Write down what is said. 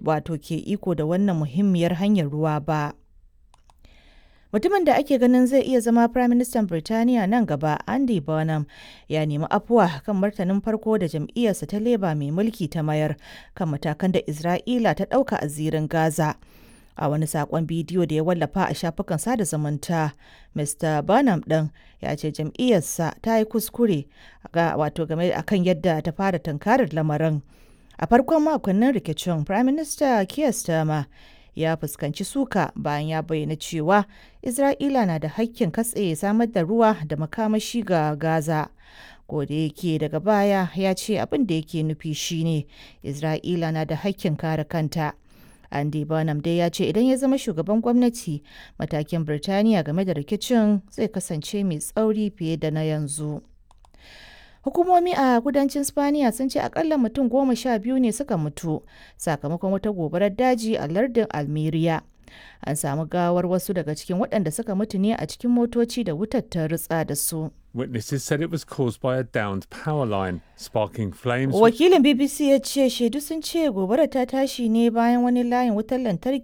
Wato ke iko da wannan muhimmiyar hanyar ruwa ba. Mutumin da ake ganin zai iya zama Firaministan Birtaniya nan gaba, Andy Burnham, ya nemi afuwa kan martanin farko da jam'iyyarsa ta Labour mai mulki ta mayar kan matakan da Isra'ila ta ɗauka a zirin Gaza. A wani saƙon bidiyo da ya wallafa a shafukan sada zumunta, Mr. Burnham ɗin ya ce jam'iyyarsa ta yi kuskure wato game akan yadda ta fara tunkarar lamarin. A farkon makonnin rikicin, Firaminista Keir Starmer ya fuskanci suka bayan ya bayyana cewa Isra'ila na da hakkin katse samar da ruwa da makamashi ga Gaza. Kodayake daga baya ya ce abin da yake nufi shine Isra'ila na da hakkin kare kanta. Andy Burnham dai ya ce idan ya zama shugaban gwamnati, matakin Birtaniya game da rikicin zai kasance mai tsauri fiye da na yanzu. Hukumomi a kudancin Spaniya sun ce akalla mutum 12 ne suka mutu sakamakon wata gobarar daji a lardin Almeria. An samu gawar wasu daga cikin waɗanda suka mutu ne a cikin motoci da wutar ta rutsa da su. Witnesses said it was caused by a downed power line, sparking flames. Wakilin BBC ya ce shaidu sun ce gobarar ta tashi ne bayan wani layin wutar lantarki.